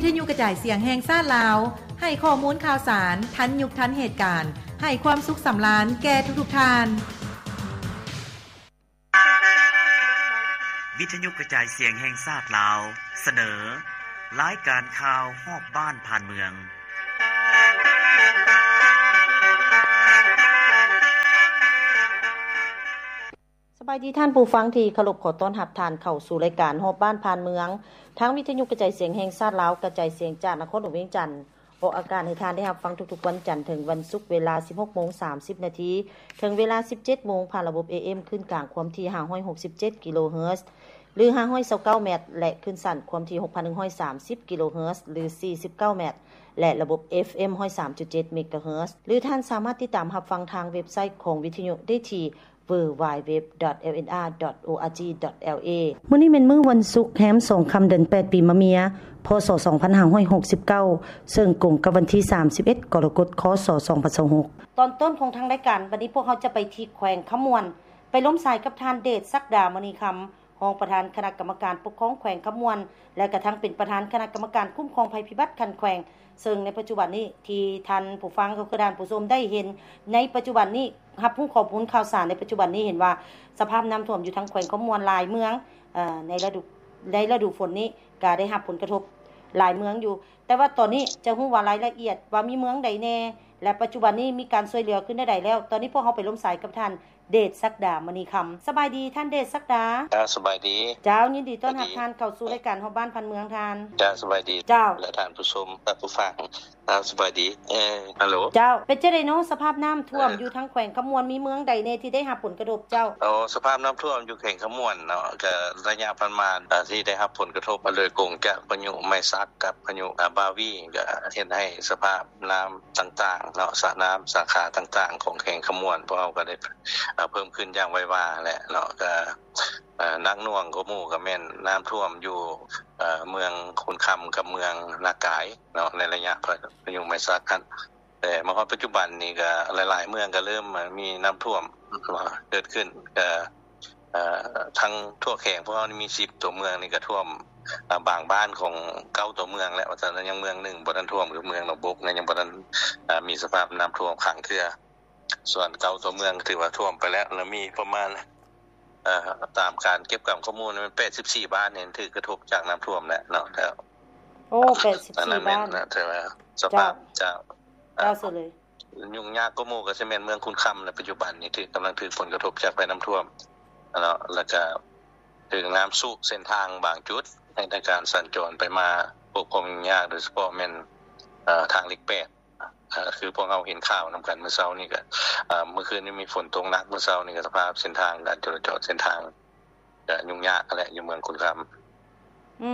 ວິທະຍຸກະຈາຍສຽງແຫ່ງຊາດລາວ ໃຫ້ຂໍ້ມູນຂ່າວສານທັນຍຸກທັນເຫດການ ໃຫ້ຄວາມສຸກສຳລານແກ່ທຸກໆທ່ານ. ວິທະຍຸກະຈາຍສຽງແຫ່ງຊາດລາວ ສະເໜີ ລາຍການຂ່າວຮອບບ້ານຜ່ານເມືອງ. ສະບາຍດີທ່ານຜູ້ຟັງທີ່ເຄົາລົບ, ຂໍຕ້ອນຮັບທ່ານເຂົ້າສູ່ລາຍການຮອບບ້ານຜ່ານເມືອງ ທາງວິທະຍຸກະຈາຍສຽງແຫ່ງຊາດລາວ ກະຈາຍສຽງຈາກນະຄອນຫຼວງວຽງຈັນ ອອກອາກາດໃຫ້ທ່ານໄດ້ຮັບຟັງທຸກໆວັນຈັນເຖິງວັນສຸກ ເວລາສິບຫົກໂມງສາມສິບນາທີ ເຖິງເວລາສິບເຈັດໂມງ ຜ່ານລະບົບ ເອເອັມ ຄື້ນກາງຄວາມຖີ່ ຫ້າຮ້ອຍຫົກສິບເຈັດ ກິໂລເຮີດ ຫຼື ຫ້າຮ້ອຍຊາວເກົ້າແມັດ ແລະ ຄື້ນສັ້ນຄວາມຖີ່ ຫົກພັນໜຶ່ງຮ້ອຍສາມສິບ ກິໂລເຮີດ ຫຼື ສີ່ສິບເກົ້າແມັດ ແລະ ລະບົບ ເອຟເອັມ ຮ້ອຍສາມຈຸດເຈັດ ເມກາເຮີດ ຫຼື ທ່ານສາມາດຕິດຕາມຮັບຟັງທາງເວັບໄຊຂອງວິທະຍຸໄດ້ທີ່ ดัບເບິນຢູດັບເບິນຢູດັບເບິນຢູດັບເບິນຢູ ດອດ ເອລເອັນເອ ດອດ ໂອອາຈີ ດອດ ແອລເອ. ມື້ນີ້ແມ່ນມື້ວັນສຸກ ແຮມສອງຄ່ຳ ເດືອນແປດ ປີມະເມຍ ພ.ສ. ສອງພັນຫ້າຮ້ອຍຫົກສິບເກົ້າ ເຊິ່ງກົງກັບວັນທີ ສາມສິບເອັດ ກໍລະກົດ ຄ.ສ. ສອງພັນຊາວຫົກ. ຕອນຕົ້ນຂອງທາງລາຍການ ບັດນີ້ພວກເຮົາຈະໄປທີ່ແຂວງຄຳມ່ວນ ໄປລົມສາຍກັບທ່ານ ເດດສັກດາ ມະນີຄຳ ຮອງປະທານຄະນະກຳມະການປົກຄອງແຂວງຄຳມ່ວນ ແລະ ກະທັງເປັນປະທານຄະນະກຳມະການຄຸ້ມຄອງໄພພິບັດຂັ້ນແຂວງ, ເຊິ່ງໃນປັດຈຸບັນນີ້ ທີ່ທ່ານຜູ້ຟັງ ກໍຄືທ່ານຜູ້ຊົມໄດ້ເຫັນໃນປັດຈຸບັນນີ້ ຮັບຮູ້ຂໍ້ມູນຂ່າວສານໃນປັດຈຸບັນນີ້ ເຫັນວ່າສະພາບນ້ຳຖ້ວມຢູ່ທາງແຂວງຄຳມ່ວນຫຼາຍເມືອງ ເອີ ໃນລະດູ ໃນລະດູຝົນນີ້ກະໄດ້ຮັບຜົນກະທົບຫຼາຍເມືອງຢູ່, ແຕ່ວ່າຕອນນີ້ຈະຮູ້ວ່າລາຍລະອຽດວ່າມີເມືອງໃດແດ່ ແລະ ປັດຈຸບັນນີ້ມີການຊ່ວຍເຫຼືອຂຶ້ນແນວໃດແລ້ວ. ຕອນນີ້ພວກເຮົາໄປລົມສາຍກັບທ່ານ ເດດສັກດາ ມະນີຄຳ. ສະບາຍດີທ່ານ ເດດສັກດາ. ເຈົ້າ ສະບາຍດີ. ເຈົ້າ ຍິນດີຕ້ອນຮັບທ່ານເຂົ້າສູ່ລາຍການຮອບບ້ານຜ່ານເມືອງທ່ານ. ເຈົ້າ ສະບາຍດີ. ເຈົ້າ ແລະ ທ່ານຜູ້ຊົມ ແລະ ຜູ້ຟັງ. ເຈົ້າ ສະບາຍດີ. ເອີ ຮັລໂຫຼ. ເຈົ້າ ເປັນຈັ່ງໃດເນາະ ສະພາບນ້ຳຖ້ວມ ເອີ ຢູ່ທາງແຂວງຄຳມ່ວນ ມີເມືອງໃດແດ່ທີ່ໄດ້ຮັບຜົນກະທົບເຈົ້າ? ໂອ້ ສະພາບນ້ຳຖ້ວມຢູ່ແຂວງຄຳມ່ວນເນາະ ກະໄລຍະຜ່ານມາ ອາ ທີ່ໄດ້ຮັບຜົນກະທົບໂດຍກົງຈາກພາຍຸໄມຊັກກັບພາຍຸ ອາ ບາວີ ກະເຮັດໃຫ້ສະພາບນ້ຳຕ່າງໆເນາະ ສະ ນ້ຳສາຂາຕ່າງໆຂອງແຂວງຄຳມ່ວນ ພວກເຮົາກະໄດ້ ອາ ເພີ່ມຂຶ້ນຢ່າງໄວວາແຫຼະເນາະ ກະ ອາ ໜັກໜ່ວງກວ່າໝູ່ກະແມ່ນນ້ຳຖ້ວມຢູ່ ອາ ເມືອງຄູນຄຳກັບເມືອງນາກາຍເນາະ ໃນໄລຍະພາຍຸໄມຊັກຫັ້ນ. ແຕ່ມາຮອດປັດຈຸບັນນີ້ກະຫຼາຍໆເມືອງກະເລີ່ມ ອາ ມີນ້ຳຖ້ວມ ອາ ເກີດຂຶ້ນ ກະ ອາ ທັງທົ່ວແຂວງພວກເຮົານີ້ມີສິບຕົວເມືອງນີ້ກະຖ້ວມ ອາ ບາງບ້ານຂອງເກົ້າຕົວເມືອງແລ້ວ ວ່າຊັ້ນ ຍັງເມືອງໜຶ່ງບໍ່ທັນຖ້ວມ ຄືເມືອງໜອງບົກນະ ຍັງບໍ່ທັນ ອາ ມີສະພາບນ້ຳຖ້ວມຂັງເທື່ອ. ສ່ວນເກົ້າຕົວເມືອງຖືວ່າຖ້ວມໄປແລ້ວ ແລະ ມີປະມານ ເອີ ຕາມການເກັບກຳຂໍ້ມູນແມ່ນແປດສິບສີ່ບ້ານນີ້ຖືກກະທົບຈາກນ້ຳຖ້ວມແລ້ວເນາະ. ໂອ້ ແປດສິບສີ່ບ້ານ ຖືວ່າສະພາບ ເຈົ້າ ເຈົ້າ ເຈົ້າ ເຈົ້າ ເລີຍ. ຫຍຸ້ງຍາກກວ່າໝູ່ກະຊິແມ່ນເມືອງຄູນຄຳ ໃນປັດຈຸບັນນີ້ຖືກ ກຳລັງຖືກຜົນກະທົບຈາກໄພນ້ຳຖ້ວມເນາະ ແລ້ວກະຖືກນ້ຳຊຸເສັ້ນທາງບາງຈຸດ ໃຫ້ໃນການສັນຈອນໄປມາ ພວກຄວາມຫຍຸ້ງຍາກ ໂດຍສະເພາະແມ່ນ ເອີ ທາງເລກແປດ ອາ ຄືພວກເຮົາເຫັນຂ່າວນຳກັນມື້ເຊົ້ານີ້ກະ ອາ ມື້ຄືນນີ້ມີຝົນຕົກໜັກ ມື້ເຊົ້ານີ້ກະສະພາບເສັ້ນທາງ ການຈະລາຈອນເສັ້ນທາງກະຫຍຸ້ງຍາກຫັ້ນແຫຼະ ຢູ່ເມືອງຄູນຄຳ ອືມ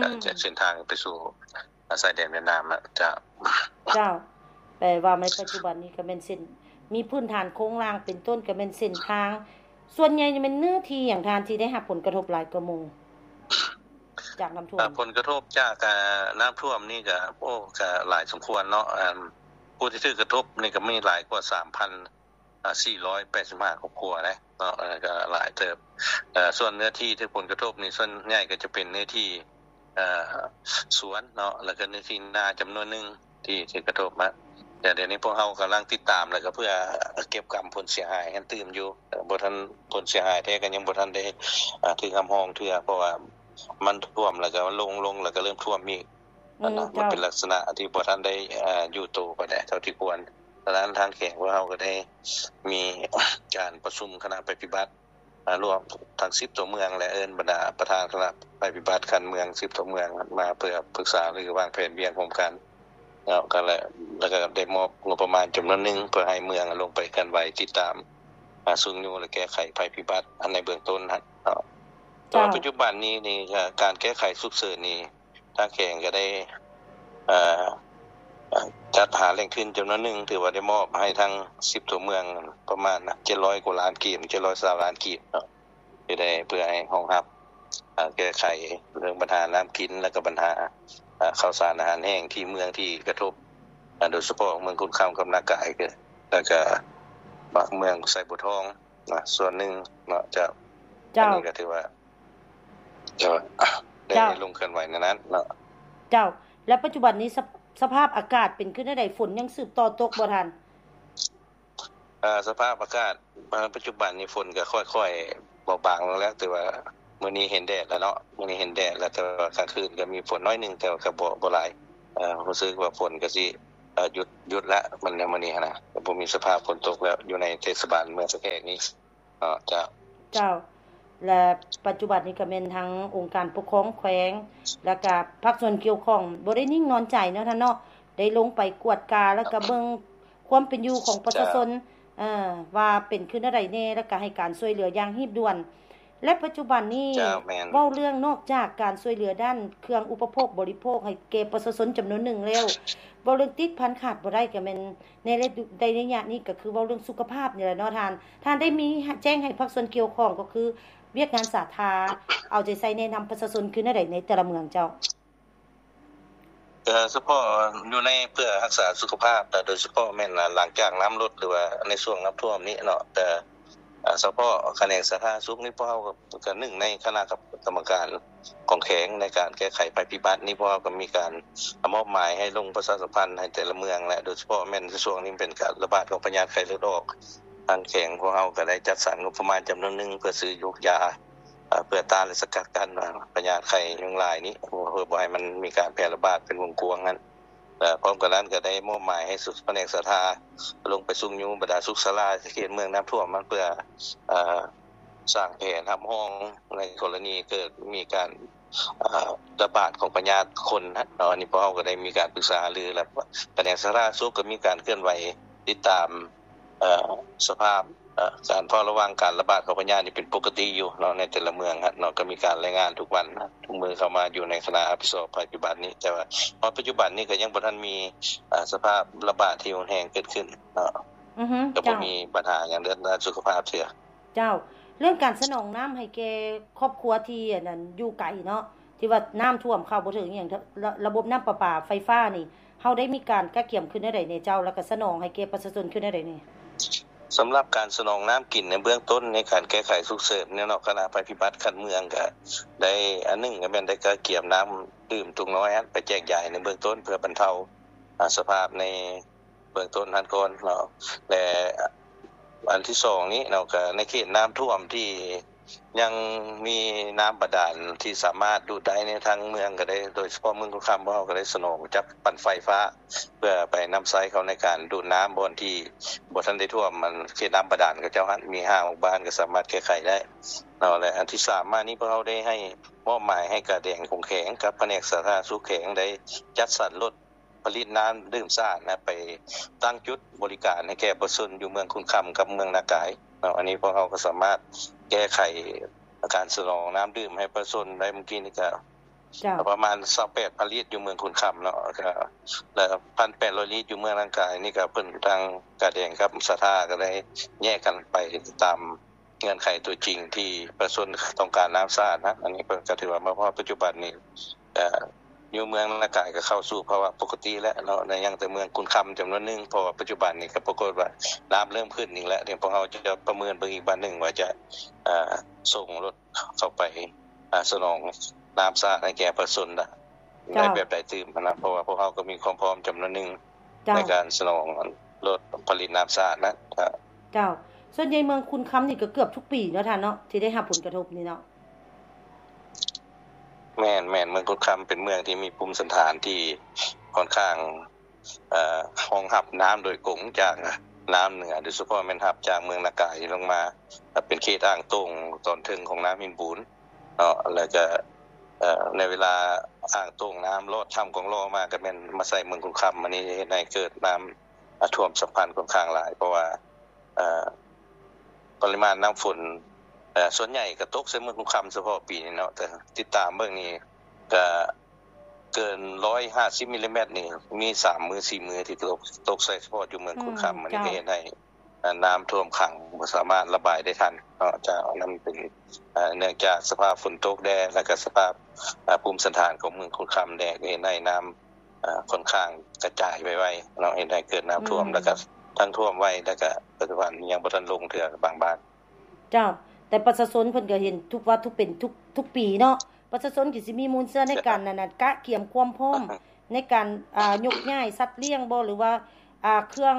ກະຈາກເສັ້ນທາງໄປສູ່ ອາ ຊາຍແດນຫວຽດນາມນະ. ເຈົ້າ ເຈົ້າ ແປວ່າໃນປັດຈຸບັນນີ້ກະແມ່ນເສັ້ນ ມີພື້ນຖານໂຄງລ່າງເປັນຕົ້ນ ກະແມ່ນເສັ້ນທາງ ສ່ວນໃຫຍ່ແມ່ນເນື້ອທີ່ຫຍັງທ່ານທີ່ໄດ້ຮັບຜົນກະທົບຫຼາຍກວ່າໝູ່ ຈາກນ້ຳຖ້ວມ? ອາ ຜົນກະທົບຈາກ ອາ ນ້ຳຖ້ວມນີ້ກະ ໂອ້ ກະຫຼາຍສົມຄວນເນາະ ອາ ຜູ້ທີ່ຖືກກະທົບນີ້ກະມີຫຼາຍກວ່າສາມພັນສີ່ຮ້ອຍແປດສິບຫ້າຄອບຄົວເດ້ເນາະ ກະຫຼາຍເຕີບ. ເອີ ສ່ວນເນື້ອທີ່ຖືກຜົນກະທົບນີ້ ສ່ວນໃຫຍ່ກະຈະເປັນເນື້ອທີ່ ເອີ ສວນເນາະ ແລ້ວກະເນື້ອທີ່ນາຈຳນວນໜຶ່ງ ທີ່ຖືກກະທົບມາ ແຕ່ດຽວນີ້ພວກເຮົາກຳລັງຕິດຕາມ ແລ້ວກະເພື່ອເກັບກຳຜົນເສຍຫາຍຫັ້ນຕື່ມຢູ່ ບໍ່ທັນ ຜົນເສຍຫາຍແທ້ກະຍັງບໍ່ທັນໄດ້ ອາ ຖືກຮັບຮອງເທື່ອ ເພາະວ່າມັນຖ້ວມ ແລ້ວກະລົງ ລົງ ແລ້ວກະເລີ່ມຖ້ວມອີກ ອືມ ມັນເປັນ ເຈົ້າ ລັກສະນະທີ່ບໍ່ທັນໄດ້ ອາ ຢູ່ໂຕປານໃດເທົ່າທີ່ຄວນ. ສະນັ້ນທາງແຂວງພວກເຮົາກະໄດ້ມີການປະຊຸມຄະນະໄພພິບັດ ອາ ລວມທັງສິບຕົວເມືອງ ແລະ ເອີ້ນບັນດາປະທານຄະນະໄພພິບັດຂັ້ນເມືອງສິບຕົວເມືອງ ມາເພື່ອປຶກສາຫາລືວາງແຜນວຽກຮ່ວມກັນເນາະ ກະ ແລະ ກະໄດ້ມອບງົບປະມານຈຳນວນໜຶ່ງ ເພື່ອໃຫ້ເມືອງລົງໄປເຄື່ອນໄຫວຕິດຕາມ ອາ ຊຸກຍູ້ ແລະ ແກ້ໄຂໄພພິບັດ ອັນໃນເບື້ອງຕົ້ນຫັ້ນເນາະ. ແຕ່ວ່າ ເຈົ້າ ປັດຈຸບັນນີ້ນີ້ ການແກ້ໄຂສຸກເສີນນີ້ ທາງແຂວງກະໄດ້ ເອີ ຈັດຫາແຫຼ່ງທຶນຈຳນວນໜຶ່ງ ຖືວ່າໄດ້ມອບໃຫ້ທັງສິບຕົວເມືອງປະມານເຈັດຮ້ອຍກວ່າລ້ານກີບ ເຈັດຮ້ອຍຊາວລ້ານກີບເນາະ ທີ່ໄດ້ເພື່ອໃຫ້ຮອງຮັບ ເອີ ແກ້ໄຂເລື່ອງບັນຫານ້ຳກິນ ແລ້ວກະບັນຫາ ເອີ ເຂົ້າສານອາຫານແຫ້ງທີ່ເມືອງທີ່ກະທົບ ເອີ ໂດຍສະເພາະເມືອງຄູນຄຳກັບນາກາຍ ແລ້ວກະບາງເມືອງໄຊບົວທອງ ນະ ສ່ວນໜຶ່ງເນາະ. ເຈົ້າ ເຈົ້າ ອັນນີ້ກະຖືວ່າ ເຈົ້າ ໄດ້ ເຈົ້າ ລົງເຄື່ອນໄຫວໃນນັ້ນເນາະ. ເຈົ້າ ແລະ ປັດຈຸບັນນີ້ ສະ ສະພາບອາກາດເປັນຄືແນວໃດ? ຝົນຍັງສືບຕໍ່ຕົກບໍ່ທ່ານ? ເອີ ສະພາບອາກາດ ເອີ ປັດຈຸບັນນີ້ຝົນກໍຄ່ອຍໆເບົາບາງລົງແລ້ວ ແຕ່ວ່າມື້ນີ້ເຫັນແດດແລ້ວເນາະ ມື້ນີ້ເຫັນແດດແລ້ວ ແຕ່ວ່າກາງຄືນກໍມີຝົນໜ້ອຍໜຶ່ງ ແຕ່ວ່າກໍບໍ່ ບໍ່ຫຼາຍ. ເອີ ຮູ້ສຶກວ່າຝົນກໍຊິ ເອີ ຢຸດ ຢຸດແລ້ວ ມັນ ມື້ນີ້ຫັ້ນນະ ກໍບໍ່ມີສະພາບຝົນຕົກແລ້ວ ຢູ່ໃນເທດສະບານເມືອງສະແກງນີ້. ເອີ ເຈົ້າ. ເຈົ້າ. ແລະ ປັດຈຸບັນນີ້ກໍແມ່ນທາງອົງການປົກຄອງແຂວງ ແລ້ວກໍພາກສ່ວນກ່ຽວຂ້ອງບໍ່ໄດ້ນິ່ງນອນໃຈເນາະທ່ານເນາະ ໄດ້ລົງໄປກວດກາ ແລ້ວກໍເບິ່ງຄວາມເປັນຢູ່ຂອງປະຊາຊົນ ເຈົ້າ ເອີ ວ່າເປັນຄືແນວໃດແດ່ ແລ້ວກໍໃຫ້ການຊ່ວຍເຫຼືອຢ່າງຮີບດ່ວນ. ແລະ ປັດຈຸບັນນີ້ ເຈົ້າ ແມ່ນ ເວົ້າເລື່ອງນອກຈາກການຊ່ວຍເຫຼືອດ້ານເຄື່ອງອຸປະໂພກບໍລິໂພກໃຫ້ແກ່ປະຊາຊົນຈຳນວນໜຶ່ງແລ້ວ ເວົ້າເລື່ອງຕິດພັນຂາດບໍ່ໄດ້ກໍແມ່ນ ໃນໄລຍະ ໃນໄລຍະນີ້ກໍຄືເວົ້າເລື່ອງສຸຂະພາບນີ້ແຫຼະເນາະທ່ານ. ທ່ານໄດ້ມີແຈ້ງໃຫ້ພາກສ່ວນກ່ຽວຂ້ອງ ກໍຄືວຽກງານສາທາ ເອົາໃຈໃສ່ແນະນຳປະຊາຊົນຄືແນວໃດໃນແຕ່ລະເມືອງເຈົ້າ? ເອີ ສະເພາະຢູ່ໃນເພື່ອຮັກສາສຸຂະພາບ ແລະ ໂດຍສະເພາະແມ່ນ ອາ ຫຼັງຈາກນ້ຳລົດ ຫຼືວ່າໃນຊ່ວງນ້ຳຖ້ວມນີ້ເນາະ ແຕ່ ອາ ສະເພາະຂະແໜງສາທາລະນະສຸກນີ້ ພວກເຮົາກໍ ກໍໜຶ່ງໃນຄະນະກຳ ກຳມະການຂອງແຂວງໃນການແກ້ໄຂໄພພິບັດນີ້ ພວກເຮົາກໍມີການມອບໝາຍໃຫ້ລົງປະຊາສຳພັນໃຫ້ແຕ່ລະເມືອງ ແລະ ໂດຍສະເພາະແມ່ນໃນຊ່ວງນີ້ເປັນການລະບາດຂອງພະຍາດໄຂ້ເລືອດອອກ. ທາງແຂວງພວກເຮົາກໍໄດ້ຈັດສັນງົບປະມານຈຳນວນໜຶ່ງ ເພື່ອຊື້ຢູກຢາ ເພື່ອຕ້ານ ແລະ ສະກັດກັ້ນພະຍາດໄຂ້ຍຸງລາຍນີ້ ເພື່ອບໍ່ໃຫ້ມັນມີການແຜ່ລະບາດເປັນວົງກວ້າງນັ້ນ. ແລະ ພ້ອມກັນນັ້ນກໍໄດ້ມອບໝາຍໃຫ້ສຸ ພະແນກສາທາລົງໄປຊຸກຍູ້ບັນດາສຸກສາລາທີ່ເຂດເມືອງນ້ຳຖ້ວມ ເພື່ອ ເອີ ສ້າງແຜນຮັບຮອງໃນກໍລະນີເກີດມີການ ເອີ ລະບາດຂອງພະຍາດຄົນເນາະ. ອັນນີ້ພວກເຮົາກໍໄດ້ມີການປຶກສາຫາລື ແລະ ພະແນກສາທາລະນະສຸກກໍມີການເຄື່ອນໄຫວຕິດຕາມ ເອີ ສະພາບ ເອີ ການເຝົ້າລະວັງການລະບາດຂອງພະຍາດນີ້ເປັນປົກກະຕິຢູ່ເນາະ ໃນແຕ່ລະເມືອງເນາະ ກໍມີການລາຍງານທຸກວັນ ທຸກມື້ເຂົ້າມາຢູ່ໃນຄະນະຮັບຜິດຊອບໄພພິບັດນີ້. ແຕ່ວ່າຮອດປັດຈຸບັນນີ້ກໍຍັງບໍ່ທັນມີ ເອີ ສະພາບລະບາດທີ່ຮຸນແຮງເກີດຂຶ້ນເນາະ ອືຮຶ ກໍບໍ່ ເຈົ້າ ມີບັນຫາຫຍັງເລື່ອງດ້ານສຸຂະພາບເທື່ອ. ເຈົ້າ. ເລື່ອງການສະໜອງນ້ຳໃຫ້ແກ່ຄອບຄົວທີ່ ອັນນັ້ນ ຢູ່ໄກເນາະ ທີ່ວ່ານ້ຳຖ້ວມເຂົ້າບໍ່ເຖິງອີ່ຫຍັງ ລະ ລະບົບນ້ຳປະປາໄຟຟ້ານີ້ ເຮົາໄດ້ມີການກະກຽມຄືແນວໃດແດ່ເຈົ້າ ແລ້ວກະສະໜອງໃຫ້ແກ່ປະຊາຊົນຄືແນວໃດແດ່? ສຳລັບການສະໜອງນ້ຳກິນໃນເບື້ອງຕົ້ນ ໃນການແກ້ໄຂສຸກເສີນເນາະ ຄະນະໄພພິບັດຂັ້ນເມືອງກະໄດ້ ອັນໜຶ່ງກະແມ່ນໄດ້ກະກຽມນ້ຳດື່ມຕຸງນ້ອຍຫັ້ນໄປແຈກຢາຍໃນເບື້ອງຕົ້ນ ເພື່ອບັນເທົາ ອາ ສະພາບໃນ ເບື້ອງຕົ້ນຫັ້ນກ່ອນເນາະ ແລະ ອັນທີສອງນີ້ເນາະ ກະໃນເຂດນ້ຳຖ້ວມທີ່ຍັງມີນ້ຳບາດານທີ່ສາມາດດູດໄດ້ໃນທາງເມືອງກະໄດ້ ໂດຍສະເພາະເມືອງຄຸນຄຳ ພວກເຮົາກະໄດ້ສະໜອງຈັກປັ່ນໄຟຟ້າ ເພື່ອໄປນຳໃຊ້ເຂົ້າໃນການດູດນ້ຳ ບ່ອນທີ່ບໍ່ທັນໄດ້ຖ້ວມ ອັນເຂດນ້ຳບາດານເຂົາເຈົ້າຫັ້ນ ມີຫ້າຫົກບ້ານກະສາມາດແກ້ໄຂໄດ້ເນາະ. ແລະ ອັນທີສາມມານີ້ ພວກເຮົາໄດ້ໃຫ້ ມອບໝາຍໃຫ້ກາແດງຂອງແຂວງກັບພະແນກສາທາລະນະສຸກແຂວງໄດ້ຈັດສັນລົດ ຜະລິດນ້ຳດື່ມສະອາດນະ ໄປຕັ້ງຈຸດບໍລິການໃຫ້ແກ່ປະຊາຊົນຢູ່ເມືອງຄຸນຄຳກັບເມືອງນາກາຍເນາະ. ອັນນີ້ພວກເຮົາກໍສາມາດແກ້ໄຂການສະໜອງນ້ຳດື່ມໃຫ້ປະຊາຊົນໄດ້. ມື້ກີ້ນີ້ກໍ ເຈົ້າ ປະມານຊາວແປດພັນລິດຢູ່ເມືອງຄຸນຄຳເນາະ ແລ້ວກໍ ແລ້ວພັນແປດຮ້ອຍລິດຢູ່ເມືອງນາກາຍນີ້ ກໍເພິ່ນທາງກາແດງກັບສາທາກໍໄດ້ແຍກກັນໄປຕາມ ເງື່ອນໄຂຕົວຈິງທີ່ປະຊາຊົນຕ້ອງການນ້ຳສະອາດນະ. ອັນນີ້ເພິ່ນກໍຖືວ່າມາຮອດປັດຈຸບັນນີ້ ເອີ ຢູ່ເມືອງນາກາຍກໍເຂົ້າສູ່ພາວະປົກກະຕິແລ້ວເນາະ ຍັງແຕ່ເມືອງຄຸນຄຳຈຳນວນໜຶ່ງ ເພາະວ່າປັດຈຸບັນນີ້ກໍປາກົດວ່ານ້ຳເລີ່ມຂຶ້ນອີກແລ້ວ. ດຽວພວກເຮົາຈະປະເມີນເບິ່ງອີກບາດໜຶ່ງວ່າຈະ ເອີ ສົ່ງລົດເຂົ້າໄປ ອາ ສະໜອງນ້ຳສະອາດໃຫ້ແກ່ປະຊາຊົນນະ ເຈົ້າ ໄດ້ແບບໃດຕື່ມນະ ເພາະວ່າພວກເຮົາກໍມີຄວາມພ້ອມຈຳນວນໜຶ່ງ ເຈົ້າ ໃນການສະໜອງລົດຜະລິດນ້ຳສະອາດນະ. ເຈົ້າ. ສ່ວນໃຫຍ່ເມືອງຄຸນຄຳນີ້ກໍເກືອບທຸກປີເນາະທ່ານເນາະ ທີ່ໄດ້ຮັບຜົນກະທົບນີ້ເນາະ. ແມ່ນໆ ເມືອງຄຸນຄຳເປັນເມືອງທີ່ມີພູມສັນຖານທີ່ຂ້ອນຂ້າງ ເອີ ຮອງຮັບນ້ຳໂດຍກົງຈາກນ້ຳເໜືອ ໂດຍສະເພາະແມ່ນຮັບຈາກເມືອງນາກາຍລົງມາ ເປັນເຂດອ່າງໂຕ່ງຕອນເທິງຂອງນ້ຳຫີນບູນເນາະ. ແລ້ວກະ ເອີ ໃນເວລາອ່າງໂຕ່ງນ້ຳລອດຖ້ຳກອງຫຼໍ່ມາ ກະແມ່ນມາໃສ່ເມືອງຄຸນຄຳ ອັນນີ້ເຮັດໃຫ້ເກີດນ້ຳ ອາ ຖ້ວມສຳພັນຂ້ອນຂ້າງຫຼາຍ ເພາະວ່າ ເອີ ປະລິມານນ້ຳຝົນ ເອີ ສ່ວນໃຫຍ່ກະຕົກໃສ່ເມືອງຄຸນຄຳສະເພາະປີນີ້ເນາະ ແຕ່ຕິດຕາມເບິ່ງນີ້ກະເກີນຮ້ອຍຫ້າສິບມິລລີແມັດນີ້ ມີສາມມື້ສີ່ມື້ທີ່ຕົກ ຕົກໃສ່ສະເພາະຢູ່ເມືອງຄຸນຄຳ. ອືມ ອັນນີ້ກະເຮັດໃຫ້ ເອີ ນ້ຳຖ້ວມຂັງ ບໍ່ສາມາດລະບາຍໄດ້ທັນເນາະ. ເຈົ້າ ອັນນັ້ນເປັນ ເອີ ເນື່ອງຈາກສະພາບຝົນຕົກແດ່ ແລ້ວກະສະພາບ ເອີ ພູມສັນຖານຂອງເມືອງຄຸນຄຳແດ່ ກະເຮັດໃຫ້ນ້ຳ ເອີ ຂ້ອນຂ້າງກະຈາຍໄວໆເນາະ ເຮັດໃຫ້ເກີດນ້ຳຖ້ວມ ອືມ ແລ້ວກະທັງຖ້ວມໄວ ແລ້ວກະປັດຈຸບັນຍັງບໍ່ທັນລົງເທື່ອບາງບ້ານ. ເຈົ້າ ແຕ່ປະຊາຊົນເພິ່ນກະເຫັນທຸກວ່າທຸກເປັນທຸກ ທຸກປີເນາະ ປະຊາຊົນກະຊິມີມູນເຊື້ອໃນການ ເຈົ້າ ອັນນັ້ນ ກະກຽມຄວາມພ້ອມ ໃນການ ອ່າ ຍົກຍ້າຍສັດລ້ຽງບໍ່ ຫຼືວ່າ ອ່າ ເຄື່ອງ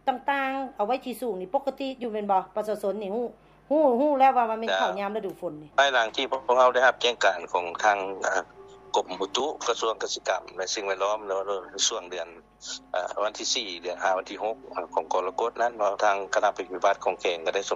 ຕ່າງໆ ເອົາໄວ້ທີ່ສູງນີ້ປົກກະຕິຢູ່ແມ່ນບໍ່? ປະຊາຊົນນີ້ຮູ້ ຮູ້ ຮູ້ແລ້ວວ່າມັນແມ່ນເຂົ້າຍາມລະດູຝົນນີ້. ພາຍຫຼັງທີ່ພວກເຮົາໄດ້ຮັບແຈ້ງການຂອງທາງ ອ່າ ກົມອຸຕຸ ກະຊວງກະສິກຳ ແລະ ສິ່ງແວດລ້ອມ ແລ້ວ ໃນຊ່ວງເດືອນ ອ່າ ວັນທີສີ່ ເດືອນຫ້າ ວັນທີຫົກ ອ່າ ຂອງກໍລະກົດນັ້ນເນາະ ທາງຄະນະປະຕິບັດຂອງແຂວງກໍໄດ້ສົ